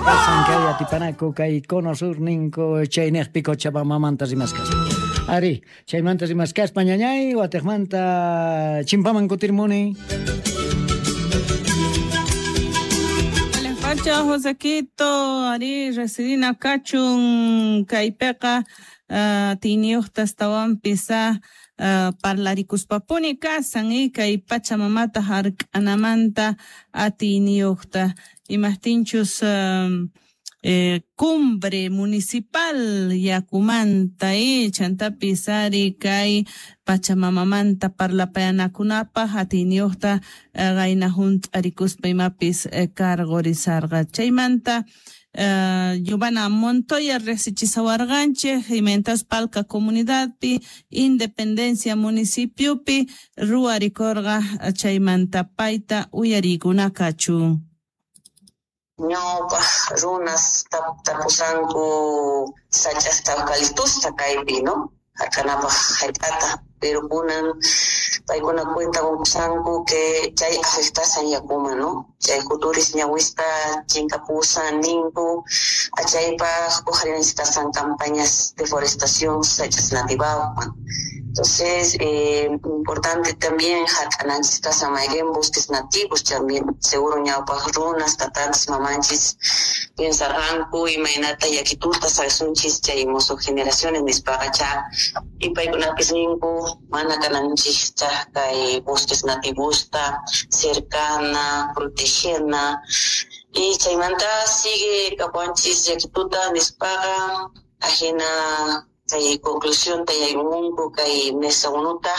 Kasan kay atipanaku kay cono sur ninku chayniqpi Cochabambamanta rimaskaspa. Ari, chaymanta rimaskaspa ñañay watiqmanta chimpaman kutirmuni. Pacha Josequito, ari residina kachun kaypiqa tiniyuqta astawanpis parlarikuspapuni kasan y kay pachamamata hark'anamanta atiyniyuqta imaqtinchus cumbre municipal yakumanta chantapis ari kay pachamamamanta parlapayanakunapaq atiyniyuqta qayna hunt'arikuspa imapis cargorizarqa chaymanta Giovanna Montoya riqsichisawarqanchik imaynatas Palca comunidadpi Independencia municipiopi ruwarikurqa chaymanta payta uyariykuna kachun. Ñawpaq runas tapusanku sach'asta eucaliptusta kaypi, ¿no? Hark'anapaq hallp'ata, pero kunan paykuna cuenta qunkusanku que chay afectasan yakuman, ¿no? Chay juturis ñawispa chinkapusan ninku, achaypaq uqharinchikasan campañas de forestación sach'as nativawan. Entonces, importante también hark'ananchis kasan mayqin bosques nativos también, seguro ñawpaq runas, tatanchis, mamanchis piensarqanku imaynata yakituta saqsunchis chay musuq generaciones nispaqa cha y paykunapis ninku mana kananchis kay bosques nativosta cercana, protegena y chaymanta sigue kapuanchis yakituta nispaqa ajina kay conclusión tayaymunku kay mesa unuta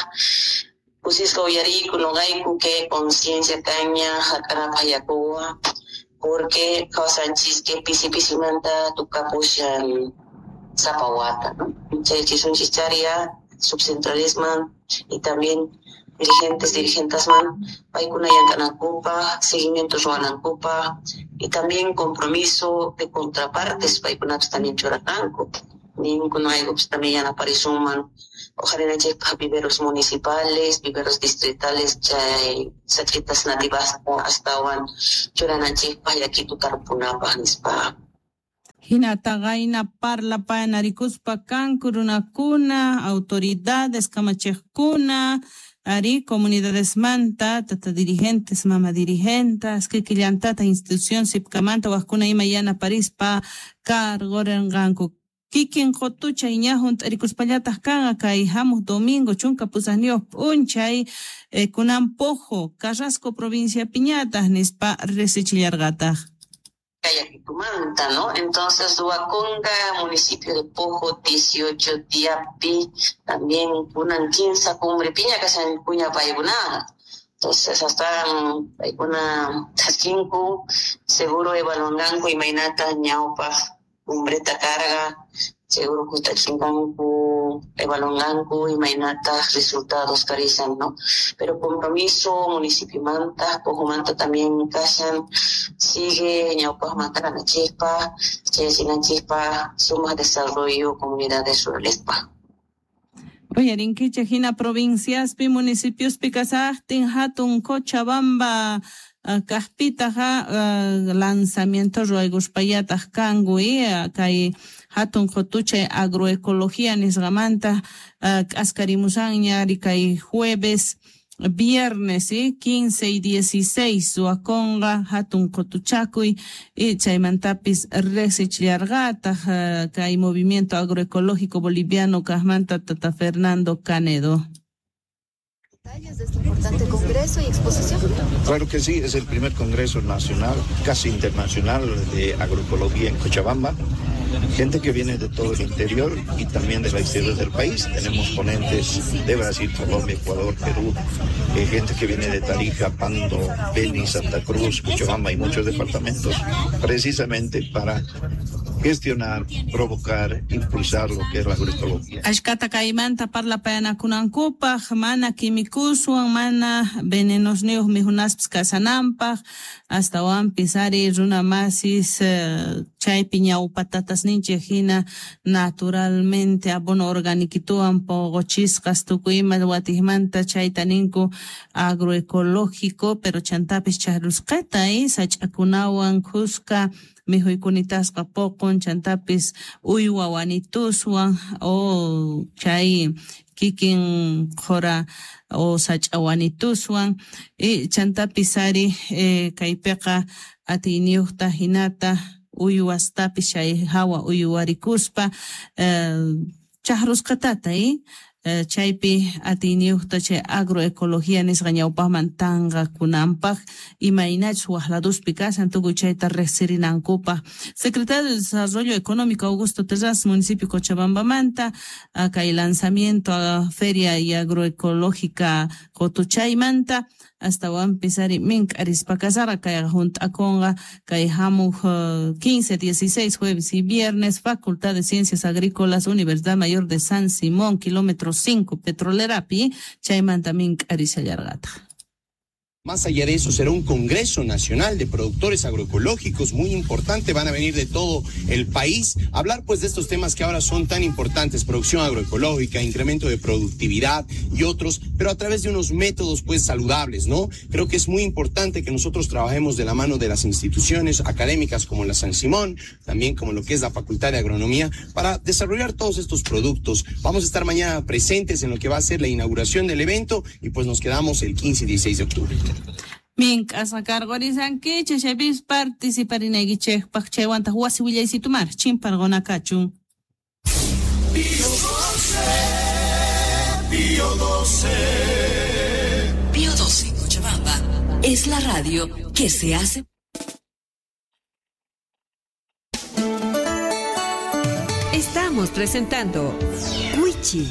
kusisqa uyariyku noqayku que conciencia kaña hark'anapaq yakuwan porque kawsanchis que pisi pisimanta tukapushan sapa wata, ¿no? Chay chisunchis charia subcentralisman y también dirigentes, dirigentasman paykuna llank'anankupaq, seguimiento ruwanankupaq y también compromiso de contrapartes paykunapis también churakanku. Ninku noqaykupis también yanaparisunman uqharinanchikpaq viveros municipales, viveros distritales chay sach'itas nativasta astawan churananchikpaq yakitu tarpunapaq nispa. Hinata qayna parlapayanarikuspa kanku runakuna, autoridades kamachiqkuna, ari comunidadesmanta, tata dirigentes, mama dirigentas, kikillantata institución sipkamanta waqkuna ima yanaparispa cargorenqanku. Kikin qotuchay ña hunt'arikuspallataq kanqa kay hamuq domingo chunka pusaqniyuq p'unchay kunan Pojo, Carrasco provincia piñataq nispa riqsichillarqataq. Yakitumanta, ¿no? Entonces, Huaconga, municipio de Pojo, 18 diapi, también kunan 15 cumbre piña kasan kuña paykunaqa. Entonces, hasta paykuna chaskinku, seguro evaluanqanku imaynata ñawpaq cumbreta carga, seguro kutachinqanku, evaluanqanku imaynata resultados karizan, ¿no? Pero compromiso municipiomanta, Pojomanta también kashan, sigue ñawpaqmanta kananchikpaq, chayachinanchikpaq, sumaq desarrollo comunidades ruralespa. Uyarinkichik hina provinciaspi, municipiospi kasaqtin hatun Cochabamba kaqpitaqa lanzamiento ruwaykuspallataq kanku kay hatun qutuchay agroecología nisqamanta k'askarimusanña ari kay jueves viernes 15 y 16 suaconga hatun qutuchakuy y chaymantapis riqsichillarqataq kay movimiento agroecológico boliviano kaqmanta tata Fernando Canedo. Detalles de este importante congreso y exposición. Claro que sí, es el primer congreso nacional, casi internacional de agroecología en Cochabamba. Gente que viene de todo el interior y también del exterior del país. Tenemos ponentes de Brasil, Colombia, Ecuador, Perú, gente que viene de Tarija, Pando, Beni, Santa Cruz, Cochabamba y muchos departamentos, precisamente para gestionar, provocar, impulsar lo que es la agroecología. Ashkata kaymanta parlapayanakunankupaq, mana químicoswan, mana venenosniyuq mijunaspis kasanampaq, astawanpis ari runa masis chaypi ñawpatatasninchik hina naturalmente abono organiquituwan poqochisqas tukuy ima watijmanta chayta ninku agroecológico, pero chantapis chahrusqata sach'akunawan khuska mikhuykunitaska poqon chantapis uywa wanituswan o chay kikin qhora o sach'a wanituswan chantapis ari kaypiqa atiyniyuqta hinata uywastapis chay hawa uywarikuspa chahrusqatata chaypi atiyniyuqta chay agroecología nisqa ñawpaqman tanqakunanpaq imaynachus waqladuspi kashan tukuy chayta riqsirinankupaq. Secretario de Desarrollo Económico Augusto Terraz, municipio Cochabambamanta, kay lanzamiento a Feria y Agroecológica Qotuchaymanta astawanpis ari mink'arispa kasarqa kayqa hunt'akunqa kay hamuq 15, 16 jueves y viernes, Facultad de Ciencias Agrícolas, Universidad Mayor de San Simón, kilómetro 5, Petrolerapi, chaymanta mink'arishallarqataq. Más allá de eso, será un Congreso Nacional de Productores Agroecológicos muy importante. Van a venir de todo el país a hablar pues de estos temas que ahora son tan importantes: producción agroecológica, incremento de productividad y otros, pero a través de unos métodos pues saludables, ¿no? Creo que es muy importante que nosotros trabajemos de la mano de las instituciones académicas como la San Simón, también como lo que es la Facultad de Agronomía, para desarrollar todos estos productos. Vamos a estar mañana presentes en lo que va a ser la inauguración del evento y pues nos quedamos el 15 y 16 de octubre. Mink'asqa karqurisankichik chaypis participarinaykichikpaq chaywantaq wasi willaysitumar chimparqunakachun. Pío 12, Pío 12. Pío 12 Cochabamba es la radio que se hace. Estamos presentando Wichi.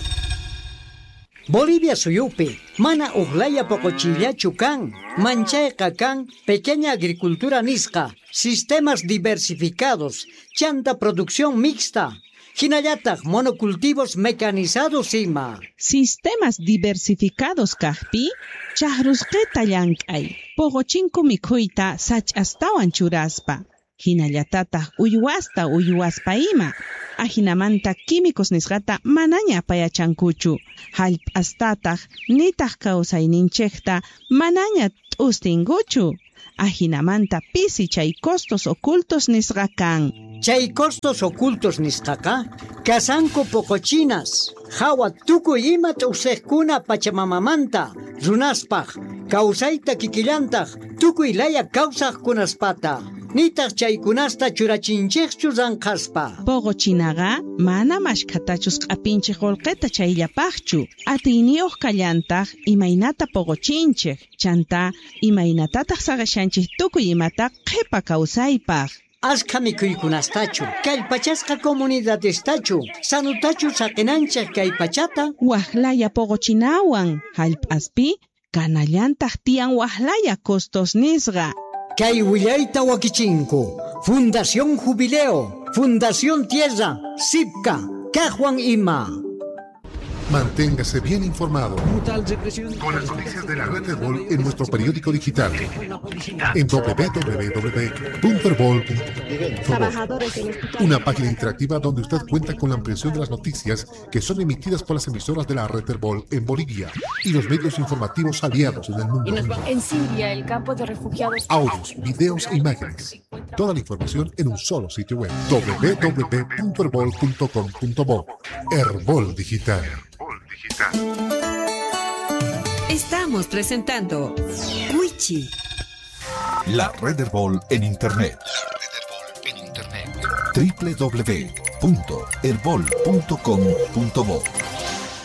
Bolivia suyupi, mana uqlaya poqochillachu kan, manchayqa kan, pequeña agricultura nisqa, sistemas diversificados, chanta producción mixta, hinallataq monocultivos mecanizados ima. Sistemas diversificados kaqpi, chahrusqita llank'ay, poqochinku mikhuyta sach'astawan churaspa. Hinallatataq uywasta uywaspa ima. Ajinamanta químicos nisqata manaña apayachankuchu. Hallp'astataq nitaq kawsayninchikta manaña t'ustinkuchu. Ajinamanta pisi chay costos ocultos nisqa kan. Chay costos ocultos nisqaqa kasanku poqochinas, hawa tukuy ima t'usiqkuna pachamamamanta, runaspaq, kawsayta kikillantaq, tukuy laya kawsaqkunaspata. Nitaq chaykunasta churachinchikchu ranqaspa. Poqochinaqa mana mashkhatachus q'apinchik qullqita chayllapaqchu. Atiyniyuq kallantaq imaynata poqochinchik, chanta imaynatataq saqashanchik tukuy imata qhipa kawsaypaq. Ashka mikhuykunastachu, kallpachasqa comunidadestachu, sanutachu saqinanchik kay pachata. Waqlaya poqochinawan hallp'aspi kanallantaq tiyan waqlaya costos nisqa. Kay willayta wakichinku, Fundación Jubileo, Fundación Tierra, Sipca, Cajuan Ima. Manténgase bien informado con las noticias de la red Herbol en nuestro periódico digital en www.herbol.com. Una página interactiva donde usted cuenta con la ampliación de las noticias que son emitidas por las emisoras de la red Herbol en Bolivia y los medios informativos aliados en el mundo. En Siria, el campo de refugiados. Audios, videos e imágenes. Toda la información en un solo sitio web: www.herbol.com.bo. Herbol Digital. Estamos presentando Wichi. La red Herbol en internet. La red Herbol en internet. www.herbol.com.bo.